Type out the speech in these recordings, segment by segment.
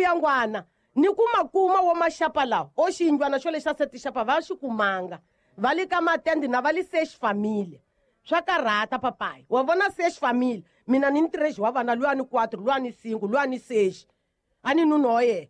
mbuyangwana ni ku ma kuma wo maxapa lawa o xiyindlwana xo lexi xa setixapa va xi kumanga va le ka matende na va le sex family swa karhata papayi wa vona sex family mina ni ntirexi wa vana luya ni 4 luya ni 5 luya ni 6 a ni nuna wa yena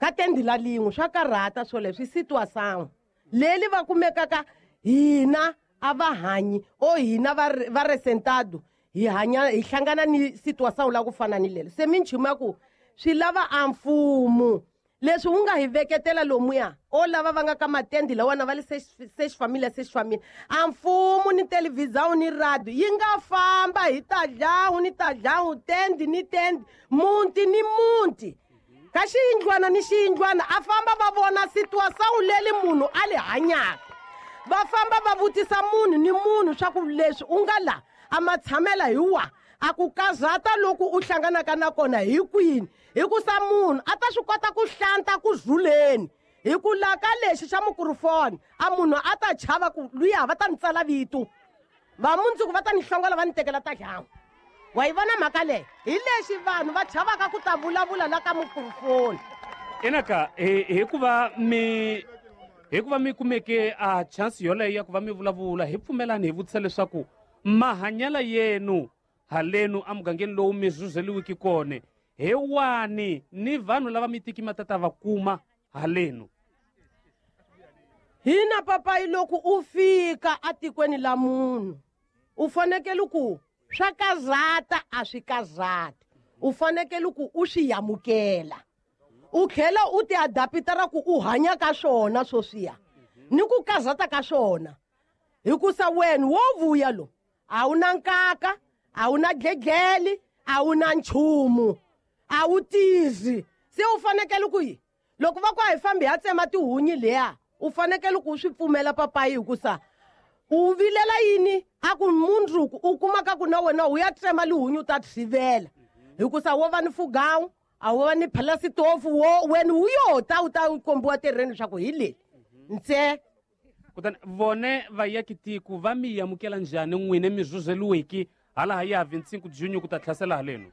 ka tendi la lin'we swa karhata swoleswo i situação leli va kumekaka hina a va hanyi o hina va resentado hi hanya hi hlangana ni situação la ku fana ni lelo se minchumu ya ku swi lava a mfumo leswi wu nga hi veketela lomuya o lava va nga ka matendi lawana va le sex familia sex familia a mfumo ni televhizão ni radio yi nga famba hi ta dlawu ni ta dlawu tendi ni tendi muti ni muti ka xiyindlwana ni xiyindlwana a famba va vona situação leli munhu a li hanyaka va famba va vutisa munhu ni munhu swa ku leswi u nga la a ma tshamela hi wa a ku kazata loku u hlanganaka na kona hi kwini hikusa munhu a ta swi kota ku hlanta ku zuleni hi ku la ka lexi xa mukurufoni a munhu a ta chava ku luya va ta ni tsala vito va mundzuku va ta ni hlongola va ni tekela ta dlawa wa yi vona mhaka leyi hi lexi vanhu va chavaka ku ta vulavula la ka mukurufoni inaka hikuva mi hikuva mi kumeke a chance yoleyo ya ku va mi vulavula hi pfumelani hi vutisa leswaku mahanyela yenu halenu emugangeni lowu mi zuzeliwiki kone hi wani ni vanhu lava mi tiki ma tata va kuma halenu hina papayi loko u fika atikweni la munhu u fanekele ku swa kazata a swi kazati u fanekele ku u swi yamukela u tlhela u ti adapta ra ku u hanya ka swona swoswiya ni ku kazata ka swona hikusa wena wo vuya lo a wu na nkaka a wu na dledleli a wu na nchumu a wu tizi se u fanekele ku yi loko va ku a hi fambi ha tsema tihunyi leya u fanekele ku u swi pfumela papayi hikusa u vilela yini a ku mundzuku u kumaka ku na wena u ya tsema lihunyi u ta tshivela hikusa wo va ni fugawu a wo va ni phalasitofu wo wena wu yo ta u ta kombiwa tereni leswaku hi leli ntse kutani vone vayakitiko va mi amukela njhani n'wine mi zuzeliweki hala ya 25 junho ku ta tlhasela halenu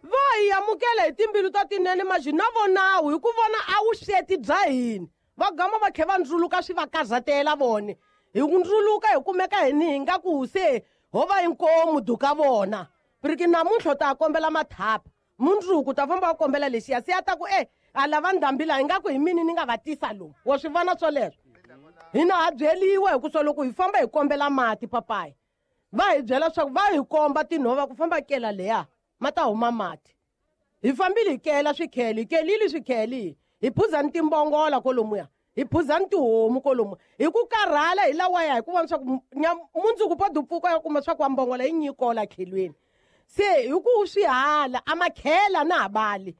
va hi amukela hi timbilu ta tinene maxi na vonawu hi ku vona a vusweti bya hina va gama va tlhe va ndzuluka swi va kazatela vone hi ku ndzuluka hi kumeka hini hi nga ku se ho va inkomu duka vona piriki namuntlha u ta kombela mathapa mundzuku ta famba va kombela lexiya se ya ta ku e a lava ndhambi laha ingaku hi mini ni nga va tisa lomu wa swi vona swoleswo hina ha byeliwa hi ku swa loko hi famba hi kombela mati papayi va hi byela swa ku va hi komba tinhova ku famba kela leya ma ta huma mati hi fambile hi kela swikhele hi kelile swikhele hi phuzani timbongola kolomuya hi phuzani tihomu kolomuya hi ku karhala hi lawaya hi ku vona swa ku mundzuku po dupfuka ya kuma swa ku wa mbongola yi nyikola khelweni se hi ku swi hala a makhela na ha bali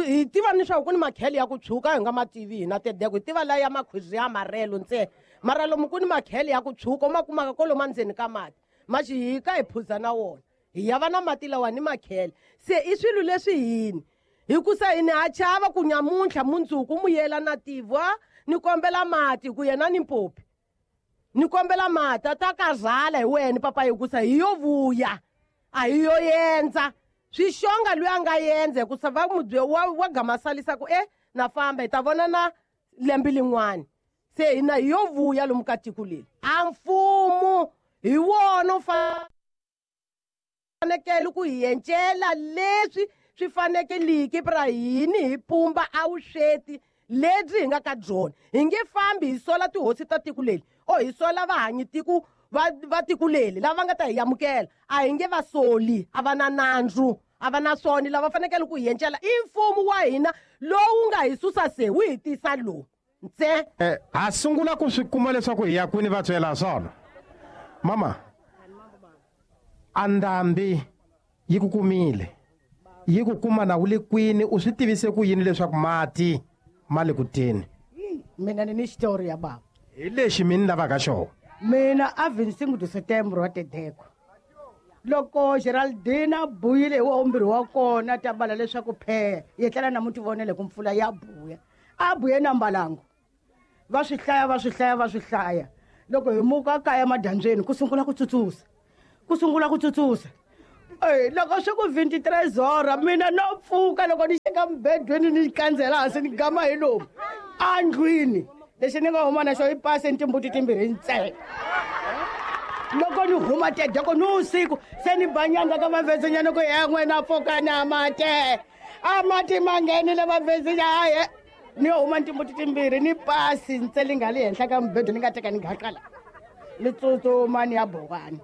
hi tiva ni swa ku ni makhele ya ku tshuka hi nga ma tivi hina tedeko hi tiva laya ya makhwizi ya marelo ntsena mara lomu ku ni makhele ya ku tshuka u ma kumaka kolomu endzeni ka mati maxi hi ka hi phuza na wona hi ya va na mati lawa ni makhele se i swilo leswi hini hikusa hini ha chava ku nyamuntlha mundzuku mu yela na tivwa ni kombela mati ku yena ni mpopi ni kombela mati a ta kazala hi wena papa hikusa hi yo vuya a hi yo yendza swixonga loyi a nga yendza hikusa va mubye wa gamasalisa ku e na famba hi ta vona na lembe lin'wani se hina hi yo vuya lomu ka tiko leri a mfumo hi wona u fanekele ku hi encela leswi swi fanekeliki pra hini hi pumba a vusweti lebyi hi nga ka byona hi nge fambi hi sola tihosi ta tiko leri o hi sola vahanyi tiko va tiko leri lava nga ta hi amukela a hi nge va soli a va na nandzu a va na swona lava fanekele ku hi encela i mfumo wa hina lowu nga hi susa se wu hi tisa lowu ntse ha sungula ku swi kuma leswaku hi ya kwini va byela swona mama a ndhambi yi ku kumile yi ku kuma na wu le kwini u swi tivise ku yini leswaku mati ma le ku teni mina ni ni xitori ya baba hi lexi mi ni lavaka xona mina a 25 de setembro wa tedeko loko Geraldine a buyile hi wa wa kona ta bala leswaku phe yetlela na muti vonele ku mpfula ya buya a buye na mbalango va swi hlaya va swi hlaya va swi hlaya loko hi muka kaya madyambyeni ku sungula ku tsutsusa ku sungula ku tsutsusa Loko swi ku 23 hora mina no pfuka loko ni xeka mubedweni ni kandzela hansi ni gama hi lomu andlwini lexi ni nga huma na xo i pasi ni timbuti timbirhi ntsena loko ni huma tedeko ni usiku se ni banyanga ka vavezinyana ku ya n'wina pfuka na mate a mati ma nghenile vavezinya haye ni huma ni timbuti timbirhi ni pasi ntse li nga le henhla ka mubedo ni nga teka ni gaqala ni tsutsuma ni ya bowani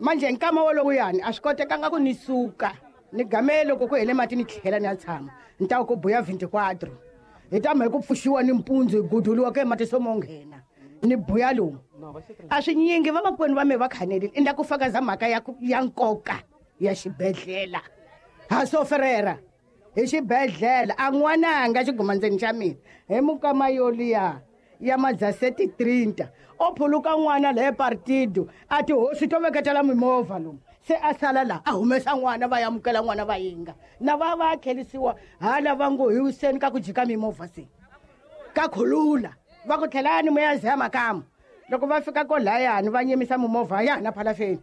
manje nkama wolowuyani a swi kotekanga ku ni suka ni game loko ku hele mati ni tlhela ni ya tshama ni ta ku buya 24 hi tama hi ku pfuxiwa ni mpundzu hi guduliwa ku mati so mo nghena ni buya lomu a swi nyingi vamakwenu va me va khanelile i nda ku fakaza mhaka ya nkoka ya xibedhlele ha so Ferreira hi xibedhlele a n'wananga xigumandzeni xa mina hi mukama yoliya ya madzaseti 30 o phuluka n'wana le partido a tihosi to veketela mimovha lomu se a sala laha a humesa n'wana va amukela n'wana va yinga na va va tlherisiwa hala va ngo hi wiseni ka ku jika mimovha se ka khulula va ku tlhelani mo ya zeya makamu loko va fika kolayani va nyimisa mimovha ya hana phalafeni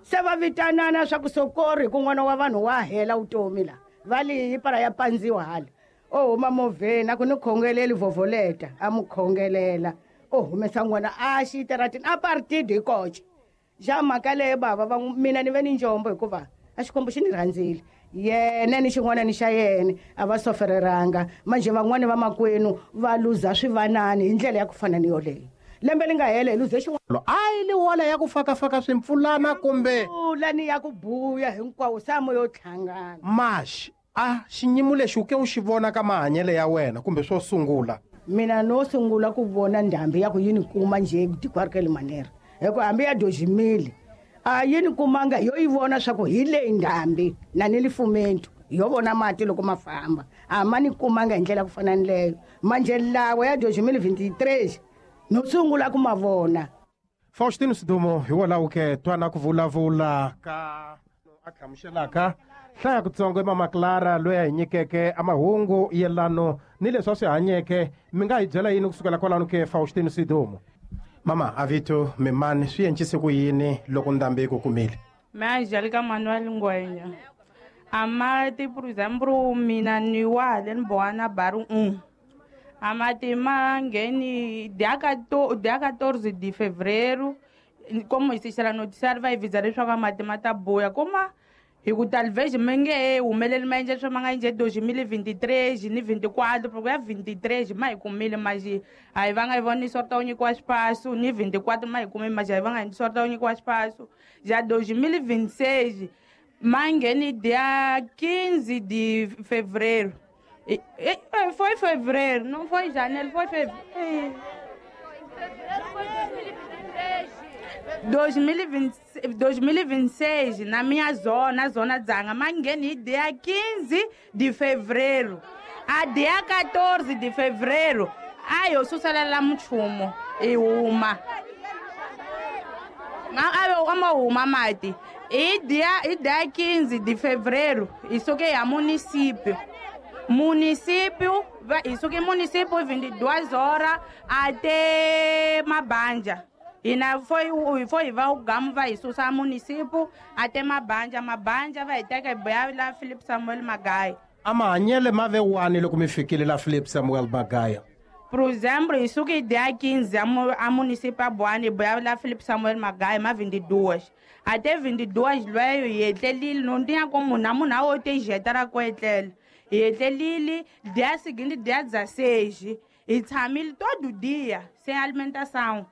se va vitanana swa ku sokori ku n'wana wa vanhu wa hela vutomi la va liyi para ya pandziwa hala o huma movheni a ku ni khongeleli vovoleta a mu khongelela o humesa n'wana a xitaratini a partido hi koxe xa mhaka leyo bava va mina ni ve ni njombo hikuva a xikwembu xi ni rhandzile yena ni xin'wana ni xa yena a va sofereranga manje van'wani va makwenu va luza swivanani hi ndlela ya ku fana ni yoleyo lembe li nga hela hi luze xin'wana a yi li wala ya ku fakafaka swimpfulana kumbe ni ya ku buya hinkwawo samo yo tlhangana maxi a xinyimu lexi u ke u xi vona ka mahanyelo ya wena kumbe swo sungula mina no sungula ku vona ndhambi ya ku yi ni kuma njhe tikwarikeli manera hi ku hambi ya dozimile a yi ni kumanga yo yi vona swa ku hi leyi ndhambi na ni lifumentu yo vona mati loko ma famba a ma ni kumanga hi ndlela ku fana ni leyo manje lawa ya dozimile 23 no sungula ku ma vona. Faustino Sidumo hi wona ke twana ku vulavula ka a hlamuselaka hlaya kutsongo Mama Clara loyi a hi nyikeke a mahungu yelano ni leswi a swi hanyeke mi nga hi byela yini kusukela kwalano ke Faustino Sidumo. Mama avito mimani swi encise ku yini loko ndhambi yi ku kumile? Me Angélica Manuel Ngwenya amati por exemplo mina ni wa le ni boana baru amati ma ngheni dia 14 de fevereiro como existe a noticiário vai avisar leswaku amati ma ta buya kuma hi ku talvez mi nge humeleli ma endla leswi ma nga endle 2023 ni 24 porque ya 23 ma hi kumile maxi a hi va nga hi voni sorta wu nyikiwa xipasu ni 24 ma hi kumile maxi a hi va nga hi sorta wu nyikiwa xipasu ja 2026 ma ngheni dia 15 de fevereiro. Foi fevereiro, não foi janeiro, foi fevereiro. 2026, na minha zona, zona Dzanga, mangueni dia 15 de fevereiro. A dia 14 de fevereiro, aí eu sou lá muito e uma. Aí uma mate. E dia 15 de fevereiro, isso que é município. Município, isso que município 22 horas até Mabanja. E na foi vai o gamo vai sussa município até Mabanja, Mabanja vai ter que lá Philip Samuel Magaia. Amanyele mave wani loko mi fikile la Philip Samuel Magaia. Por exemplo, isso que dia 15 a município Abuane lá Philip Samuel Magaia, ma 22. Até 22 loyo yetlelile não tinha como namuna o te jetara ko etlele. Yetlelile dia seguinte dia 16 e tshamile todo dia sem alimentação.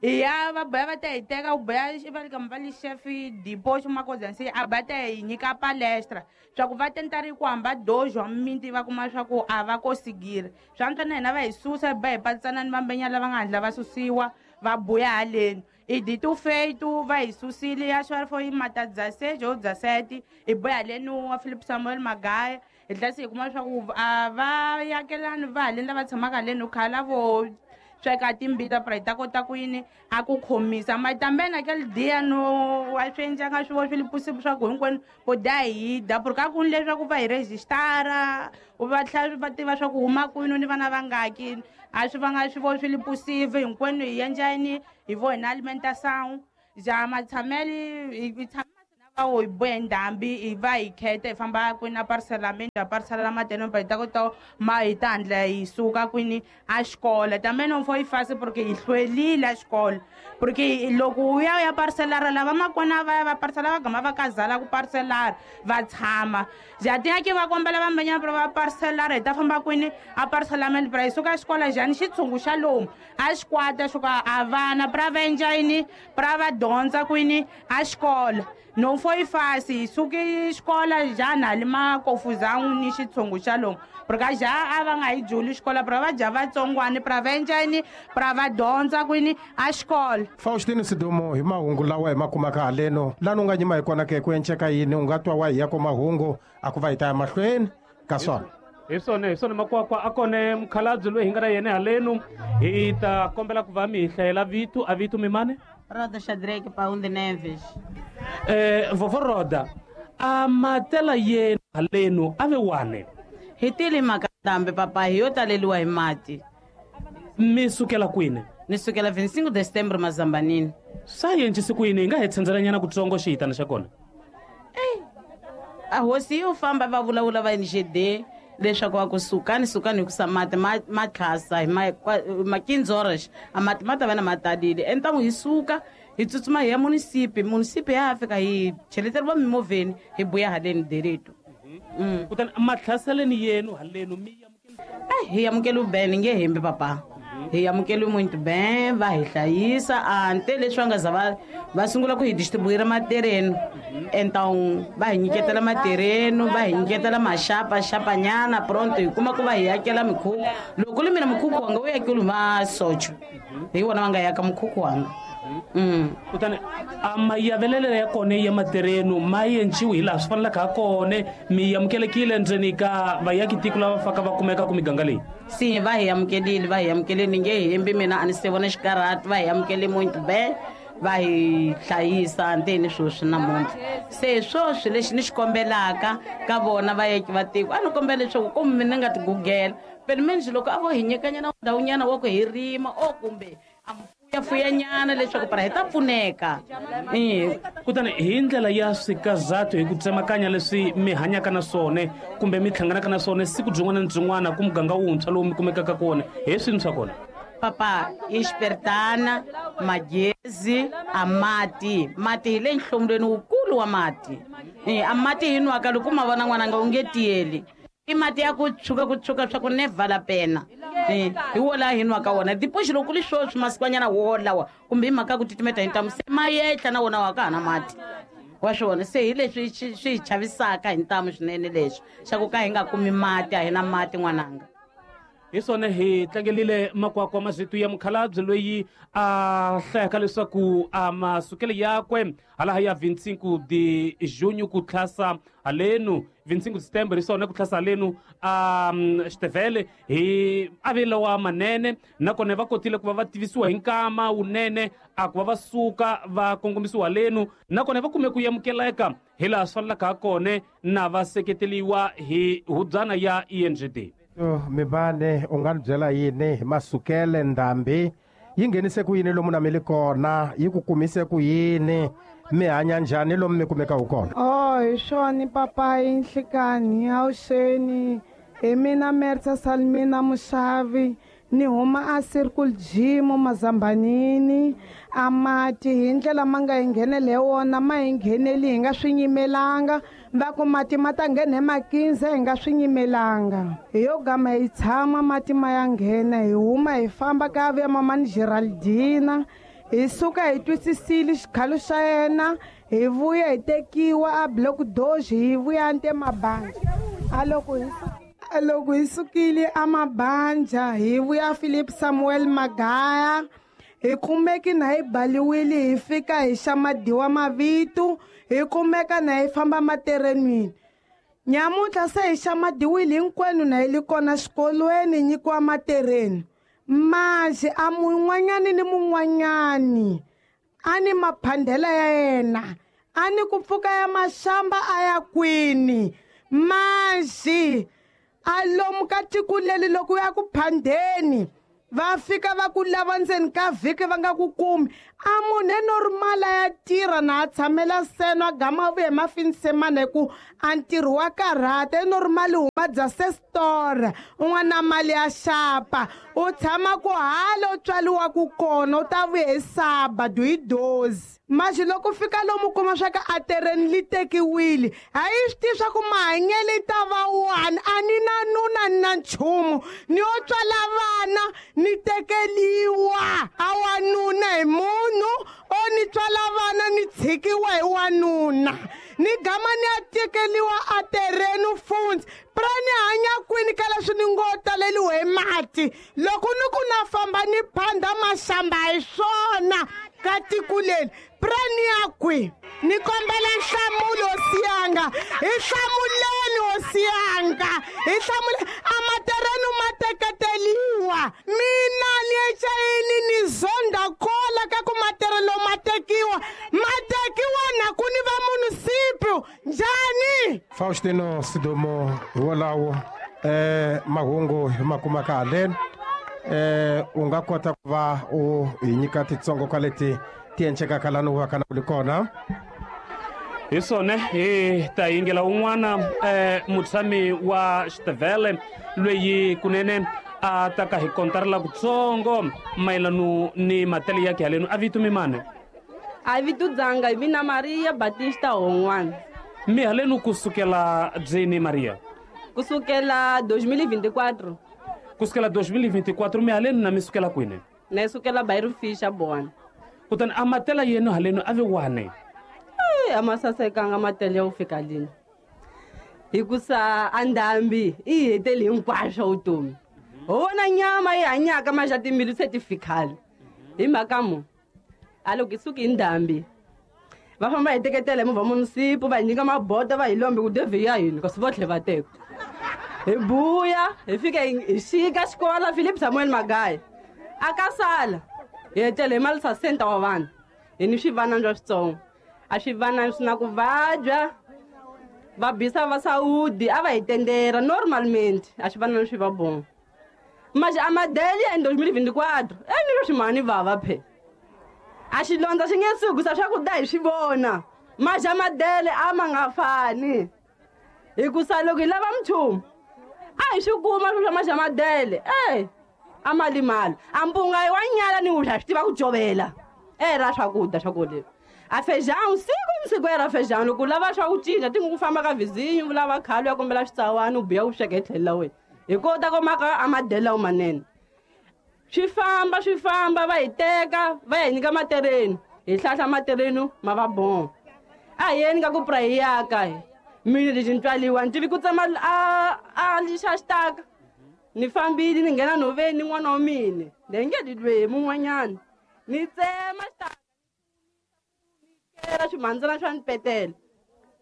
E a vai ter tega o beijo vai vai chefe de posto uma coisa assim a bate e nika palestra só que vai tentar ir com amba dois homens vai com só que a vai conseguir só que não vai sussa vai passando numa benha lá vai lá vai sussiwa vai buia além e dito feito vai sussili acho que foi matar 16 ou 17 e buia além no Philip Samuel Magaia ele assim como só que a vai aquela não vai além vai chamar além no calavo sweka timbita pra ita kota ku yini a ku khomisa mas também naquele dia no a swi endlanga swi vo swi li possível swa ku hinkwenu vo dya hi dya porque a ku ni leswaku va hi registara va tlhela va tiva swa ku huma kwini ni vana vangaki a swi vanga swi vo swi li possível hinkwenu hi endla yini hi vo hina alimentação já matshameli hi tshama na Hi buye ndhambi hi va hi kheta hi famba kwini a parcelamento a parcela mateno pa hi ta kota ma hi ta handla hi suka kwini a xikolo tameno mfo yi fasi porque hi hlwelile a xikolo porque loko u ya parcelara lava makona va ya va parcela va gama va kazala ku parcelara va tshama jatinyaki va kombela vambanyana va parcelara hi ta famba kwini a parcelamento pra hi suka xikolo njhani xitshungu xa lomu a xikwata xo ka a vana pra va endla yini pra va dyondza kwini a xikolo no fo yi fasi hi suki xikolo njhani hali makofuzangu ni xitshungu xa lomu porque ja a va nga hi juli xikolo pra va dya vatsongwani pra va endla yini pra va dyondza kwini a xikolo. Faustino Sidumo hi mahungu lawa hi ma kumaka haleno lani u nga nyima hi kona ke ku enceka yini u nga twa wa hi ya ko mahungu a ku va hi ta ya mahlweni ka swona. Hi swona makwakwa a kone mukhalabye loyi hi nga na yena haleno hi ta kombela ku va mi hi hlayela vito a vito mimane Roda Shadrake Paundi Neves. Vovó Roda a matela yena haleno a ve wane hi tile makatambe papa hi yo taleliwa hi mati. Mi sukela kwini? Ni sukela 25 de setembro Mazambanini. Swa yencisi kwini hi nga hi tshendzelanyana kutsongo xihitana xa kona? A hosi yo famba va vulavula va NGD leswaku va ku sukani sukani hikusa mati ma tlhasa hi ma 15 horas a mati ma ta va na ma talile entamu hi suka hi tsutsuma hi ya munisipi ya fika hi cheleteriwa mimovheni hi buya haleni dereto. Kutani matlhaseleni yenu halenu mi hi amukeli ben nge hembi papa hi amukeli muito bem va hi hlayisa ante leswi va nga za va sungula ku hi distribuir matereno então va hi nyiketela matereno va hi nyiketela maxapa xapanyana pronto hi kuma ku va hi yakela mikhukhu loko li mina mukhukhu wanga wu yakeliwe masocho hi wona va nga yaka mukhukhu wanga. Kutani a mayavelele ya kona ya matereno ma yenciwi hi laha swi fanelaka ha kona mi amukelekile ndzeni ka vayakitiko lava faka va kumeka ku miganga leyi? Si va hi amukelile ni nge hembi mina a ni se vona xikarhati va hi amukele muito bem va hi hlayisa nteni sweswi namuntlha se swoswi lexi ni xi kombelaka ka vona vayaki va tiko a ni kombela leswaku kumbe ni nga ti gugela pelo menos loko a vo hi nyikanyana ndhawunyana wa ku hi rima o kumbe a fuyanyana leswaku para hi ta pfuneka. Kutani hi ndlela ya swikazato hi ku tsemakanya leswi mi hanyaka na swona kumbe mi hlanganaka na swona siku byin'wana na byin'wana ku muganga wuntshwa lowu mi kumekaka kona hi swini swa kona? Papa i xiperitana magezi a mati mati hi le nhlomulweni wukulu wa mati a mati hi nwaka loko ma vona n'wananga u nge tiyeli i mati ya ku tshuka swa ku never la pena hi wo laha hi nwaka wona depois loko li swoswi masikwanyana wo lawa kumbe hi mhaka ku titimeta hi ntamu se ma yehla na wona wa ka ha na mati wa swona se hi leswi swi hi chavisaka hi ntamu swinene leswi xa ku ka hi nga kumi mati a hi na mati n'wananga. Hi swona hi tlangelile makwakwa mazitu ya mukhalabye loyi a hlayaka leswaku a masukelo yakwe halaha ya 25 de junho ku tlhasa halenu 25 de setembro hi swona ku tlhasa halenu a xitevele hi avelo wa manene nakona va kotile ku va va tivisiwa hi nkama wunene a ku va va suka va kongomisiwa halenu nakona va kume ku amukeleka hi laha swi fanelaka ha kona na va seketeliwa hi hubyana ya ENGD. Mibane u nga ni byela yini hi masukele ndhambi yi nghenise ku yini lomu na mi li kona yi ku kumise ku yini mi hanya njhani lomu mi kumekaku kona? Hi swona papayi nhlikani awuxeni hi mina Mersa Salmina Mushavi ni huma a Circle G mo Mazambanini a mati hi ndlela ma nga hi nghenele wona ma hi ngheneli hi nga swi nyimelanga va ku mati ma ta nghena hi makinze hi nga swi nyimelanga hi yo gama hi tshama mati ma ya nghena hi huma hi famba ka vuya mamani Geraldina hi suka hi twisisile xikhalo xa yena hi vuya hi tekiwa a block doge hi vuya nte mabanja a loko hi sukile a mabanja hi vuya Philip Samuel Magaya hi kumeki na hi baliwile hi fika hi xa madiwa mavito hi kumeka na hi famba materenwini nyamuntlha se hi xa madiwile hinkwenu na hi li kona xikolweni nyikiwa matereni manje a mun'wanyani ni mun'wanyani a ni maphandela ya yena a ni ku pfuka ya maxamba a ya kwini manje a lomu ka tiko leri loko ya ku phandeni Va fika va ku lava ndzeni ka vhiki va nga ku kumi. A munhu e normal ya tirha na a tshamela seno a gama a vuya hi mafinisemana hi ku a ntirho wa karhata. E normal huma bya sestora un'wana na mali ya xapa u tshama ku hala u tswaliwaku kona u ta vuya hi sabado hi dozi. Maxi loko fika lomu kuma swa ka a tereni li tekiwile a yi swi tivi swa ku mahanyelo yi ta va wani. A ni na nuna ni na nchumu ni yo tswala vana ni tekeliwa a wanuna hi munhu o ni tswala vana ni tshikiwa hi wanuna ni gama ni ya tekeliwa a tereni fundzi pra ni hanya kwini ka leswi ni ngo taleliwe hi mati. Loko ni ku na famba ni phanda maxamba hi swona ka tiko leri pra ni ya kwi. Ni kombela nhlamulo hosi yanga, hi hlamuleni hosi yanga, hi hlamuleni. A matereni ma teketeliwa mina ni echayini ni zonda kola ka ku materelo ma tekiwa ma tekiwa na ku ni va munisipiu njhani. Faustino Sidumo hi wolawo mahungu hi ma kumaka haleni. U nga kota ku va u hi nyika titsongo ka leti ti encekaka lani u va ka na ku kona. Hi swona hi ta yingela un'wana mutshami wa Xitevele loyi kunene a ta ka hi kontarela kutsongo mayelano ni matele ya halenu. A vito mi mani? A vito dzanga hi mina Maria Batista Hon'wana. Mi halenu kusukela byini Maria? Kusukela 2024. Kusukela 2024 mi halenu na mi sukela kwini? Na sukela Bairro Fisha Bwana. Kutani a matela yenu halenu a vi wane? A ma sasekanga matele ya ku fika lini. Hikusa a ndhambi i heteli hinkwaswo vutomi. Ho vona nyama yi hanyaka maxa timbilu se ti fikhale. Hi mhaka mo a loko hi suki hi ndhambi va famba hi teketela hi movha munisipu va hi nyika mabota va hi lombe ku devhi ya hina kasi vo tlhe va teka. Hi buya hi fika hi xika xikola Philip Samuel Magayi a ka sala hi etlela hi malisa center wa vanhu hi ni swivanana swa switsongo. A swivanana swi na ku vabya va bisa va Saudi a va hi tendera normalmente a swivanana swi va bon. Mas a madeli em 2024 ni ro ximani vava phe. A xilondza xi nge suki sa swakudya hi swi vona. Mas a madele a ma nga fani. Hikusa loko hi lava mchumu a hi swi kuma swilo swa maxa madele a mali mali a mpunga yi wa nyala ni wudla swi tiva ku jovela ra swakudya swa ku leswi. A feijão siku ni siku era feijão loko u lava swa ku cinca ti ku famba ka vizinho u lava khale u ya kombela switsawani u biya u sweka hi tlhelo la wena hi kota ku maka a madele lawo manene. Swi famba va hi teka va ya hi nyika matereni hi hlahla matereni ma va bon. A hi yeni ka ku pra hi yaka mina lexi ni tswaliwa ni tivi ku tsema a lixa xitaka ni fambile ni nghena nhoveni ni n'wana wa mina ni nge ni lweyi mun'wanyana ni tsema xitaka kela swimhandzana swa ni petela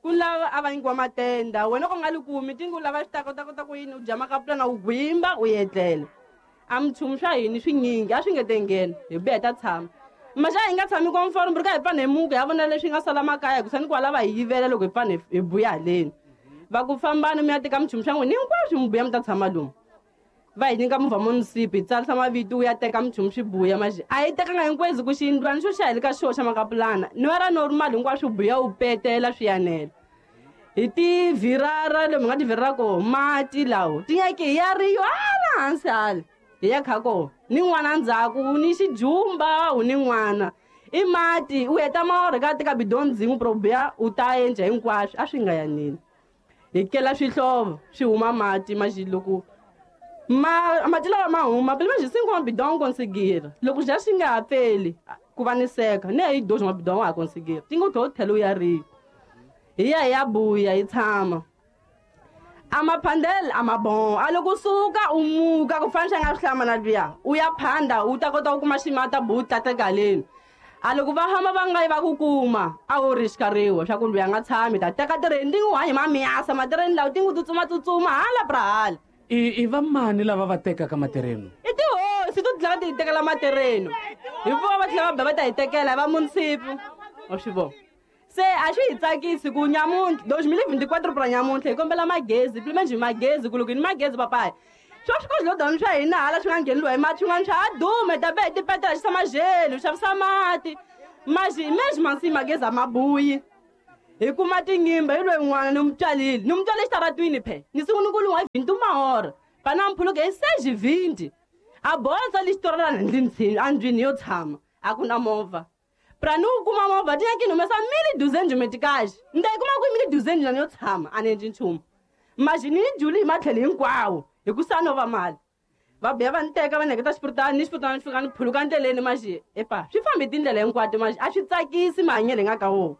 ku lava a va nyikiwa matenda wena ku nga li kumi ti ngo lava xitaka u ta kota ku yini u dya makapulana u gwimba u etlela. A minchumu swa hini swinyingi a swi nge te nghena hi vuya hi ta tshama. Maxa hi nga tshami komforo mbiri ka hi pfana hi muku hi ya vona leswi nga sala makaya hikusa ni kwala va hi yivela loko hi pfana hi buya haleni. Va ku fambani mi ya teka minchumu swa n'wina hinkwaswo mi buya mi ta tshama lomu. Va hi nyika movha munisipi hi tsarisa mavito u ya teka minchumu swi buya maxi a hi tekanga hinkwezi ku xiyindlwana xo xa hi le ka xo xa makapulana ni wa ra normal hinkwaswo buya u petela swi yanela. Hi tivirara lomu hi nga tivirara koho mati lawo tinyaki hi ya riyo hala hansi hala hi ya kha koho ni n'wana ndzhaku ni xijumba u ni n'wana i mati u heta maorha ka teka bidoni dzin'we pro buya u ta endla hinkwaswo a swi nga yanini. Hi kela swihlovo swi huma mati maxi loko mati lawa ma huma pele manjhe cinco mabidon conseguir loko já xi nga ha pfeli ku va ni seka ni hi dois mabidon wa ha conseguir ti ngo tlhela tlhelo ya ri hi ya hi ya buya hi tshama. A maphandele a mabon a loko suka u muka ku fana xa nga swi hlamana luya u ya phanda u ta kota ku kuma ximata bu tlateka haleni. A loko va hamba va nga yi va ku kuma a wu ri xikariwa swa ku luya nga tshami ta teka tireni ti ngo hanyi mamiyasa matireni lawa ti ngo tsutsuma hala pra hala. I va mani lava va tekaka matereni? I tihosi to tlhela ti hi tekela matereni hi vona va tlhela va ba va ta hi tekela hi va munisipi wa swi vona. Se a swi hi tsakisi ku nyamuntlha 2024 pra nyamuntlha hi kombela magezi pele manjhe magezi ku loko hi ni magezi papaya Swo swikodlodoni swa hina hala swi nga ngheniwa hi mati swin'wana swa ha dume ta be hi tipetela xisa majelo xavisa mati maxi mexi mansi magezi a mabuyi hi kuma tinyimba hi loyi n'wana ni mutswalile ni mutswale xitaratwini phe ni sungule ku lunga vinti mahora pana mphuluke hi seji vinti a botsa lexi torana ndlwini andlwini yo tshama a ku na movha pra ni wu kuma movha ti nyaki ni humesa mili duzenji metikaxi ni ta yi kuma kwihi mili duzenji lani yo tshama a ni endli nchumu maxi ni yi juli hi matlhelo hinkwawo hi ku sa no va mali va biya va ni teka va ni heketa xipuritani ni xipuritani ni fika ni phuluka ndleleni maxi epa swi fambi tindlela hinkwato maxi a swi tsakisi mahanyelo hi nga ka wona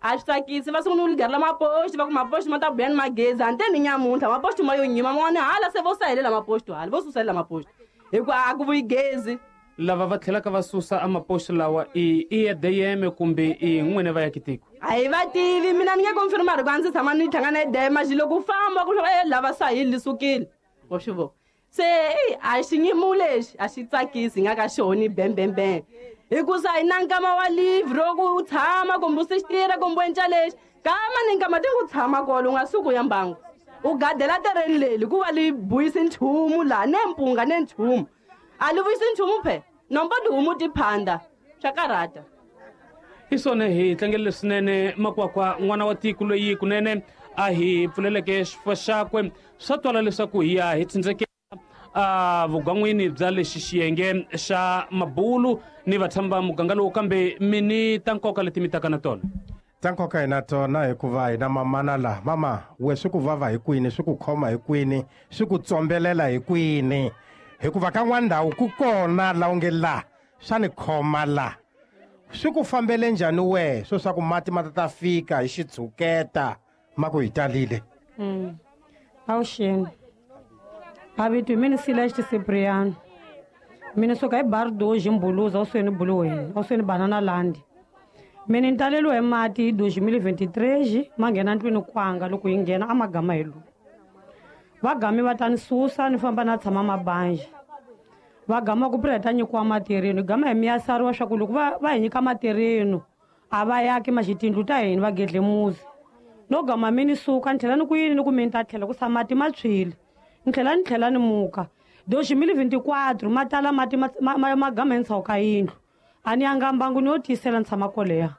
a swi tsakisi va sungula ku ligarela mapoxi va ku mapoxi ma ta buya ni magezi hante ni nyamuntlha mapoxi ma yo nyima man'wana hala se vo sahelela mapoxi hala vo susalela mapoxi hikuva a ku vuyi gezi lava va tlhelaka va susa amapoxi lawa i i EDM kumbe i n'wini va ya kitiko a hi va tivi mina ni nge confirma ri ku a ndzi tshama ni hlangana EDM maxi loko u famba ku e lava sahili li sukile wa swi vona se eyi a xinyimu lexi a xi tsakisi nga ka xona bembembe hikusa hi na nkama wa live ro ku tshama kumbe u sixitira kumbe u enca lexi kama ni nkama ti ku tshama kolo u nga suki u ya mbangu u gadela tereni leli ku va li buyisi nchumu laha ne mpunga ne nchumu a li vuyisi nchumu phe nombo tihomu ti phanda swa karhata hi swona hi tlangele swinene makwakwa n'wana wa tiko loyi kunene a hi pfuleleke xifuwo xakwe swa twala leswaku hi ya hi tsindzeke a vugwan'wini bya lexi xiyenge xa mabulu ni vatshami va muganga lowu kambe mi ni ta nkoka leti mi taka na tona ta nkoka hi na tona hikuva hi na mamana laha mama we swi ku vava hi kwini swi ku khoma hi kwini swi ku tsombelela hi kwini hikuva ka n'wana ndhawu ku kona la u nge la swa ni khoma la swi ku fambele njhani wehe swo swa ku mati ma ta ta fika hi xitshuketa ma ku hi talile Avuxeni mavito hi mina Celeste Cipriano mina suka hi Bardoji Mbuluza awusweni Buluweni awusweni Banana Land mina ni taleliwe hi mati hi 2023 ma nghena ndlwini kwanga loko hi nghena a magama hi lowu va gami va ta ni susa ni famba na tshama mabanje va gama ku pira hi ta nyikiwa matirhino hi gama hi miyasariwa swa ku loko va hi nyika matirhino a va yaki maxi tindlu ta hina va gedle muzi no gama mi ni suka ni tlhela ni ku yini ni ku mi ni ta tlhela ku sa mati ma tshwile ni tlhela ni muka 2024 ma tala mati ma gama entshaku ka yindlu a ni yanga mbangu ni yo tiyisela ni tshama koleya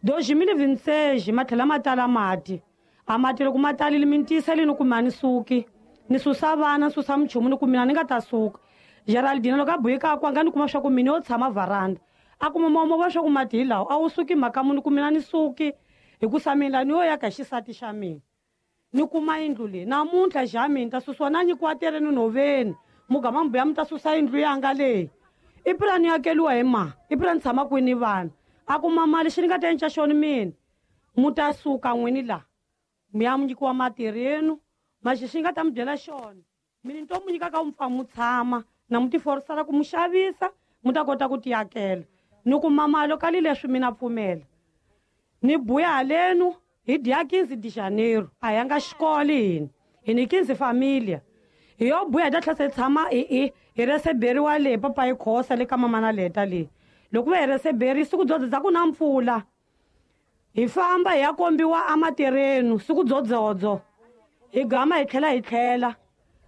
2026 ma tlhela ma tala mati a mati loko ma talile mi ni tiyiseli ni ku mi a ni suki ni susa vana ni susa minchumu ni ku mina ni nga ta suka Geraldine loko a buyi ka kwanga ni kuma swa ku mina yo tshama varanda a kuma momo va swa ku mati hi lawa a wu suki mhaka muni ku mina ni suki hikusa mina ni yo ya ka xisati xa mina ni kuma yindlu leyi namuntlha xa mina ta susiwa na nyikiwa tereni nhoveni mugama mbuya mi ta susa yindlu yanga leyi i pura ni akeliwa hi ma i pura ni tshama kwini vana a kuma mali xi ni nga ta enca xona mina mu ta suka n'wini laha mi ya mu nyikiwa matirhenu maxi xi nga ta mi byela xona mina ni to mu nyika ka mu pfa mu tshama na mu tiforisela ku mu xavisa mu ta kota ku tiyakela ni kuma mali ka li leswi mina pfumela ni buya halenu hi dya 15 de janeiro a yanga xikolo hina hi ni 15 familia hi yo buya hi ta tlhela se tshama hi reseberiwa leyi papa yi khosa le ka mamana leta leyi loko va hi reseberi siku dzodzo dza ku na mpfula hi famba hi ya kombiwa amatirhenu siku dzodzodzo hi gama hi tlhela hi tlhela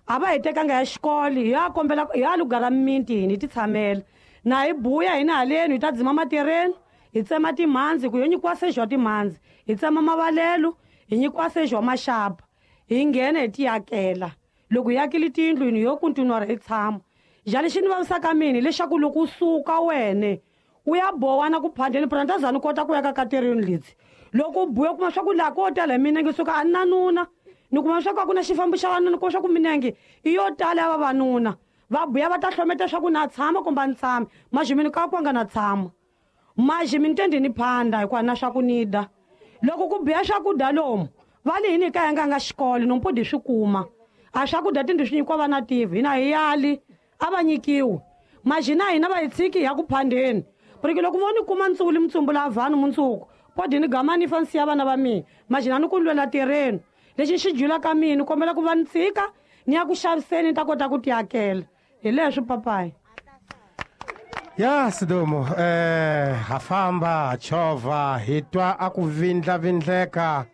a va hi tekanga ya xikolo hi ya kombela hi ya lugara mimiti hina hi ti tshamela na hi buya hina haleni hi ta dzima matirhenu hi tsema timhandzi ku yo nyikiwa seji wa timhandzi hi tsema mavalelo hi nyikiwa seji wa maxapa hi nghena hi tiyakela loko hi yakile tiyindlu hina yo kontinuara hi tshama njhani xi ni vavisaka mina hileswaku loko u suka wene u ya bowa na ku phandeni pura ni ta za ni kota ku ya ka katereni leti loko u buya u kuma swa ku laha ko tala hi minenge suka a ni nanuna ni kuma swa ku a ku na xifambo xa vanuna kuma swa ku minenge i yo tala ya vavanuna va buya va ta hlometa swa ku na tshama kumbe a ni tshami maxi ka kwanga na tshama maxi mi ni tendi ni phanda hikuva na swa ku ni da loko ku biya swakudya lomu va li hini ka yanga nga xikolo nompodi swi kuma a swakudya tindlu swi nyikiwa vana tivi hina hi yali a va nyikiwi maxi na hina va hi tshiki hi ya ku phandeni porque loko vo ni kuma ntsuli mitsumbu la vanhu mundzuku podi ni gama ni fa ni siya vana va mina maxi na ni ku lwela tirheni lexi xi julaka mina ni kombela ku va ni tshika ni ya ku xaviseni ni ta kota ku tiyakela hi leswi papayi ya sidumo ha famba ha chovha hi twa a ku vindlavindleka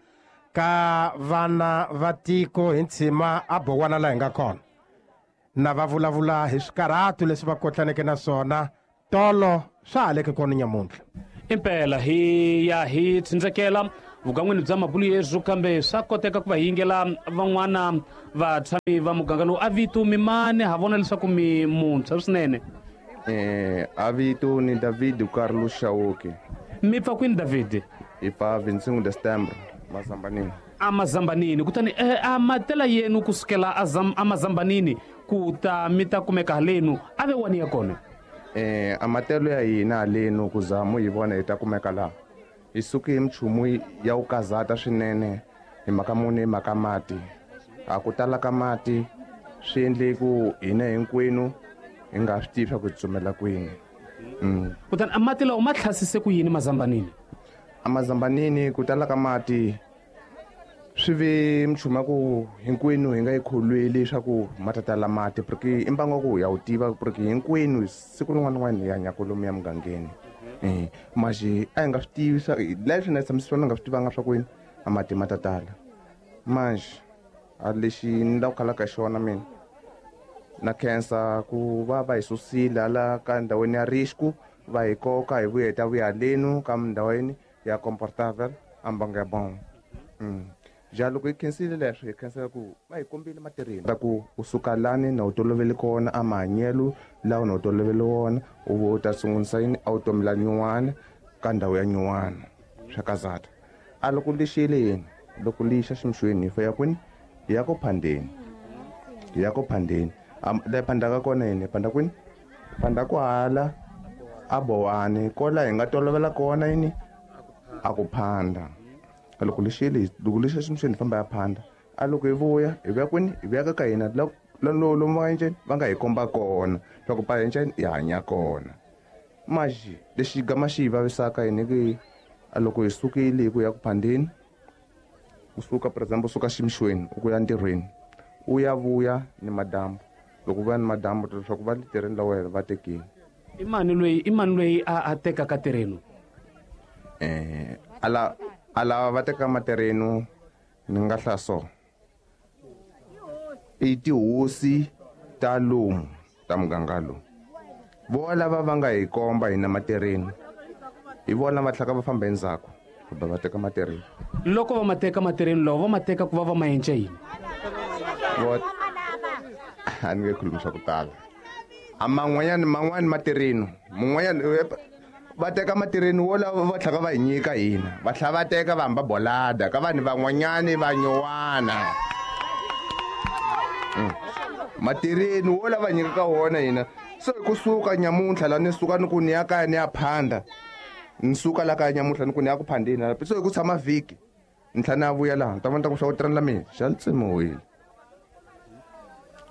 ka vana va tiko hi ntshima a bowana laha hi nga kona Na va vulavula hi swikarhatu leswi va kotlaneke na swona tolo swa ha leke kona nyamuntlha. Impela hi ya hi tsindzekela vugan'wini bya mabulu yesu, kambe swa koteka ku va yingela van'wana vatshami va muganga lowu. A vito mi mani? Ha vona leswaku mi muntshwa swinene. A vito ni David Carlos Chauke. Mi pfa kwini David? Hi pfa 25 de Setembro, Mazambanini. A Mazambanini. Kutani a matela yenu kusukela a Mazambanini ku ta mi ta kumeka halenu a ve wani ya kona? A matelo ya hina halenu ku za mu hi vona hi ta kumeka laha. Hi suke hi minchumu ya ku kazata swinene hi mhaka muni, hi mhaka mati. A ku tala ka mati swi endle ku hina hinkwenu hi nga swi tivi swa ku hi tsutsumela kwini. Kutani a mati lawa ma tlhasise ku yini Mazambanini? A Mazambanini ku tala ka mati swi ve minchumu ya ku hinkwenu hi nga yi kholweli leswaku ma ta tala mati, porque i mbangu wa ku ya wu tiva, porque hinkwenu siku rin'wana na rin'wana hi hanya kwalomu ya mugangeni. Maxi a hi nga swi tivi swa leswi na tshamisa swona nga swi tivanga swa kwini a mati ma ta tala. Manjhe a lexi ni lava ku khalaka hi xona mina na khensa ku va va hi susile hala ka ndhawini ya risku, va hi koka hi vuya hi ta vuya halenu ka ndhawini ya comfortable a mbangu ya bon. Ja loko hi khensile leswo, hi khensela ku va hi kombile matirheni ta ku u suka lani na u tolovele kona a mahanyelo lawa na u tolovele wona, u vo u ta sungurisa yini a wu tomela nyuwana ka ndhawu ya nyuwana swa kazata. A loko lixile yini, loko lixa ximixweni hi fa ya kwini, hi ya ku phandeni, hi ya ku phandeni. La hi phandaka kona yini, hi phanda kwini, phanda ku hala a Bowani kola hi nga tolovela kona yini a ku phanda. Loko lixile, loko lixa ximixweni hi famba ya phanda. A loko hi vuya, hi vuya kwini, hi vuya ka hina lomu va nga enceni, va nga hi komba kona swa ku pa enceni hi hanya kona. Maxi lexi gama xi hi vavisaka hina ki a loko hi sukile hi ku ya ku phandeni, u suka for example u suka ximixweni u ku ya ntirhweni, u ya vuya ni madyambu. Loko u vuya ni madyambu leswaku va le tirheni la wena va tekile. I mani loyi, i mani loyi a tekaka tirheni? A lava va teka materenu ni nga hlaya so. I tihosi ta lomu ta muganga lowu. Vo lava va nga hi komba hina materenu, hi vona va tlhaka va famba endzhaku kumbe va teka materenu. Loko va ma teka materenu lawa, va ma teka ku va va ma endla yini? A ni nge khulumi swa ku tala. A man'wanyani, man'wani materenu, mun'wanyani va teka matirheni wo lava va tlhaka va hi nyika hina, va tlhela va teka va hamba bolada ka vanhu van'wanyani va nyuwana. Matirheni wo lava nyika ka wona hina. Se hi kusuka nyamuntlha la ni suka ni ku ni ya kaya ni ya phanda, ni suka la kaya nyamuntlha ni ku ni ya ku phandeni la. Se hi ku tshama vhiki ni tlhela ni ya vuya laha, ni ta vona ta ku swa ku tirhela mina xa li tsemiwile.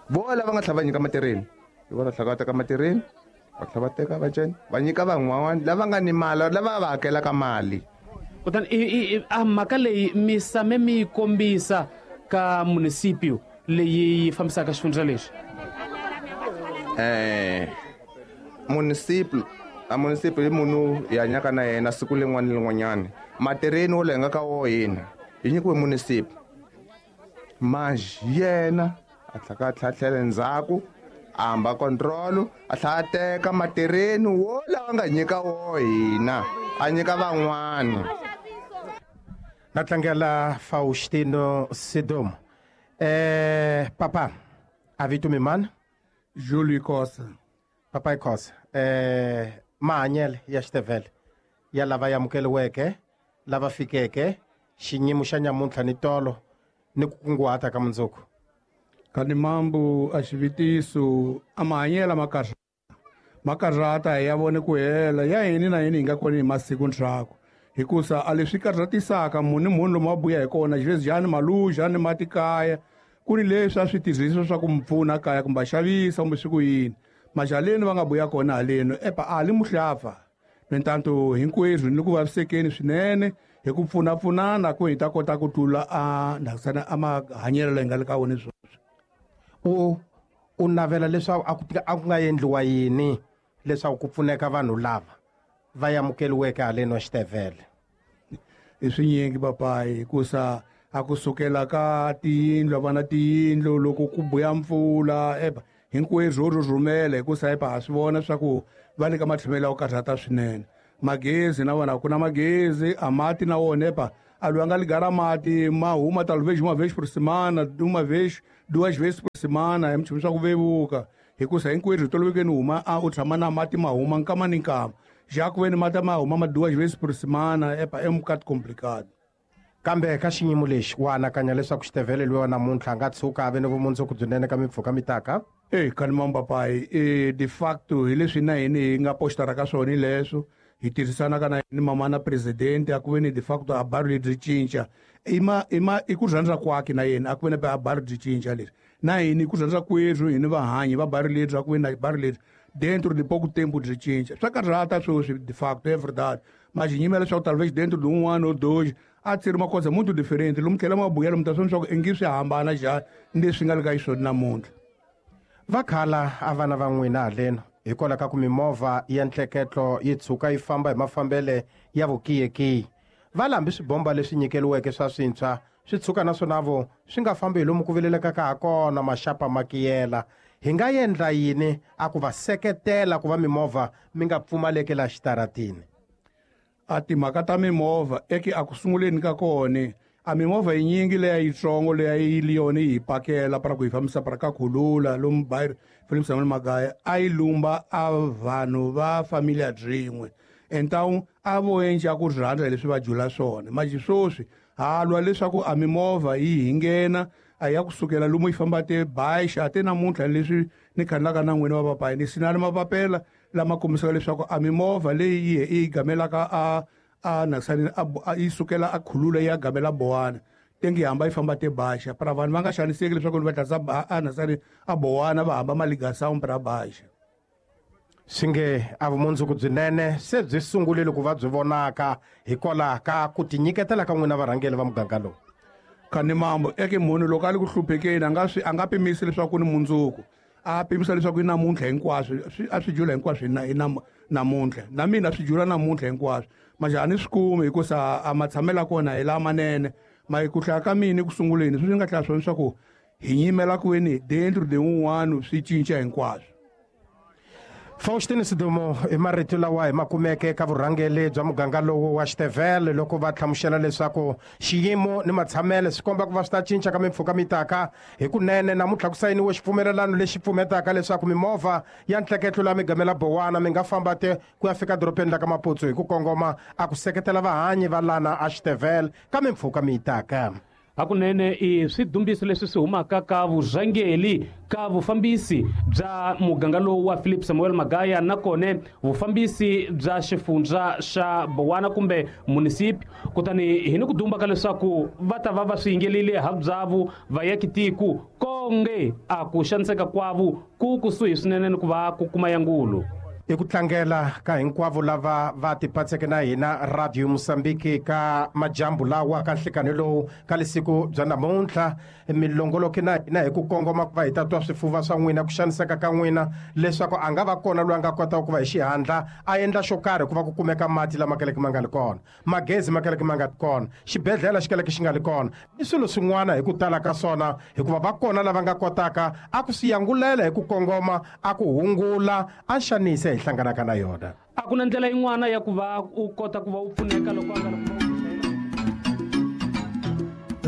Vo lava nga tlhela va nyika matirheni, hi vona tlhela va teka matirheni, va tlhela va teka va cena, va nyika van'wana lava nga ni mali, lava va hakelaka mali. Kutani a mhaka leyi mi same mi yi kombisa ka municipio leyi yi fambisaka xifundza lexi? Municipio, a municipio i munhu hi hanyaka na yena siku rin'wana ni rin'wanyana. Matirheni wo leyi nga ka wo hina hi nyikiwe municipio, manjhe yena a tlhaka a tlhatlhela endzhaku, a hamba control, a tlhela a teka matirheni wo lawa nga nyika wo hina, a nyika van'wana. Na tlangela Faustino Sidomo. Papa, a vito mi mani? Julie Khosa. Papa Khosa, mahanyelo ya Xitevele ya lava amukeriweke, lava fikeke, xiyimo xa nyamuntlha ni tolo ni ku kunguhata ka mundzuku. Kani mambu a xivitiso a mahanyelo ma kahle, ma karhata hi ya vone ku hela ya hini na hini hi nga kona hi masiku ndzhaku, hikusa a leswi karhatisaka munhu ni munhu lomu a buya hi kona xivezi maluja ni matikaya ku ni leswi a swi tirhisiwa swa ku mi pfuna kaya kumbe a xavisa kumbe swi ku yini. Majaleni va nga buya kona haleno epa a li muhlafa. Mintanto hinkwerhu ni ku vavisekeni swinene hi ku pfunapfunana ku hi ta kota ku tlula a ndhakisana a mahanyelo leyi nga le ka wona sweswi. U navela leswaku a ku nga endliwa yini leswaku ku pfuneka vanhu lava va amukeriweke haleni wa Xitevele? I swinyingi papayi, hikusa a kusukela ka tiyindlu, a va na tiyindlu loko ku buya mpfula epa Hinkwerhu ho rhurhumela hikusa epa ha swi vona swa ku va le ka matshamelo ya ku karhata swinene. Magezi na wona a ku na magezi, a mati na wona epa a loyi a nga ligara mati ma huma talvez uma vez por semana, uma vez, duas vezes por semana, hi minchumu swa ku vevuka. Hikusa hinkwerhu hi tolovekeni huma a u tshama na mati ma huma nkama ni nkama. Já ku veni mati ma huma ma duas vezes por semana epa é um bocado complicado. Kambe ka xiyimo lexi wa anakanya leswaku Xitevele loyi wa namuntlha a nga tshuka a ve ni vumundzuku byinene ka mimpfhuka mi taka? Eyi khani mampapayi, de facto hi leswi na hini hi nga postara ka swona leswo hi tirhisanaka na ni mama na president a ku ve ni de facto a baro lebyi cinca i ma i ku rhandza kwakhe na yena a ku ve ni a baro byi cinca leswi na hini ku rhandza kwerhu hini vahanyi va baro lebyi a ku ve na baro lebyi dentro de pouco tempo byi cinca swa karhata sweswi de facto é verdade, mas nyimela leswaku talvez dentro de um ano ou dois a tsiri uma coisa muito diferente lomu tlhela ma buyela mi ta swi leswaku i ngi swi hambana njhani ni leswi nga le ka xiswona namuntlha. Va khala a vana va n'wina haleno hikwalaho ka ku mimovha ya ntleketlo yi tshuka yi famba hi mafambele ya vukiyekiyi. Va lambi swibomba leswi nyikeliweke swa swintshwa swi tshuka naswona vo swi nga fambi hi lomu ku vilelekaka ha kona maxapa ma kiyela. Hi nga endla yini a ku va seketela ku va mimovha mi nga pfumaleki laha xitaratini? A timhaka ta mimovha eke a ku sunguleni ka kona a mimovha yinyingi leya yitsongo leya yi li yona yi hi pakela para ku hi fambisa para ka khulula lomu bairro Philip Samuel Magaya a yi lumba a vanhu va familia byin'we então a vo endla ku rhandza hi leswi va jula swona manje sweswi ha lwa leswaku a mimovha yi hi nghena a ya kusukela lomu yi famba te baixa te namuntlha leswi ni khanelaka na n'wina va papayi ni sinani mapapela lama kombisaka leswaku a mimovha leyi yi yi gamelaka a nasani a yi sukela a khulula ya gamela Bowana tengi hamba yi famba te baxa para vanhu va nga xaniseki leswaku va tlhasa a nasani a Bowana va hamba maligasawu para baxa. Swi nge a vumundzuku byinene se byi sungurile ku va byi vonaka hikwalaho ka ku tinyiketela ka n'wina varhangeri va muganga lowu. Khani mambo eke munhu loko a le ku hluphekeni a nga swi a nga pimisi leswaku ku ni mundzuku a pimisa leswaku i namuntlha hinkwaswo a swi jula hinkwaswo hi namuntlha na mina swi jula namuntlha hinkwaswo manje a ni swi kumi hikusa a matshamelo ya kona hi lamanene ma ku hlaya ka mina eku sunguleni sweswi ni nga hlaya swona leswaku hi nyimela kwini dentro de un'wana swi cinca hinkwaswo. Faustin Sidumo i marito lawa hi ma kumeke eka vurhangeri bya muganga lowu wa Xitevele loko va hlamusela leswaku xiyimo ni matshamelo swi komba ku va swi ta cinca ka mimpfhuka mi taka hi kunene. Namuntlha ku sayiniwe xipfumelelano lexi pfumetaka leswaku mimovha ya ntleketlo laha mi gamela Bowana mi nga famba te ku ya fika dorobeni la ka Maputsu hi ku kongoma a ku seketela vahanyi va lana a Xitevele ka mimpfhuka mi taka. Hakunene i swidumbiso leswi swi humaka ka vurhangeri ka vufambisi bya muganga lowu wa Philip Samuel Magaya nakona vufambisi bya xifundza xa Bowana kumbe munisipi. Kutani hi ni ku dumba ka leswaku va ta va va swi yingelile habyavu vayakitiku konge a ku xaniseka kwavu ku kusuhi swinene ni ku va ku kuma yangulu. I ku tlangela ka hinkwavo lava va tipatseke na hina Radio Mozambique ka majambu lawa ka nhlikani lowu ka lisiku bya namuntlha milongoloki na hina hi ku kongoma ku va hi ta twa swifuva swa n'wina ku xaniseka ka n'wina leswaku a nga va kona loyi a nga kotaka ku va hi xihatla a endla xo karhi ku va ku kumeka mati lama kaleke ma nga li kona, magezi ma kaleke ma nga li kona, xibedhlele xi kaleke xi nga li kona ni swilo swin'wana hi ku tala ka swona, hikuva va kona lava nga kotaka a ku swi yangulela hi ku kongoma a ku hungula a xanise hi hlanganaka na yona. A ku na ndlela yin'wana ya ku va u kota ku va u pfuneka loko a nga ri.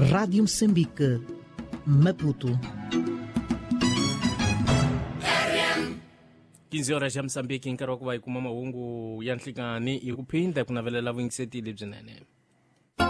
Rádio Moçambique, Maputo. 15 horas ya Moçambique nkarhi wa ku va hi kuma mahungu ya nhlikani hi ku phinda ku navelela vuyingiseti lebyinene.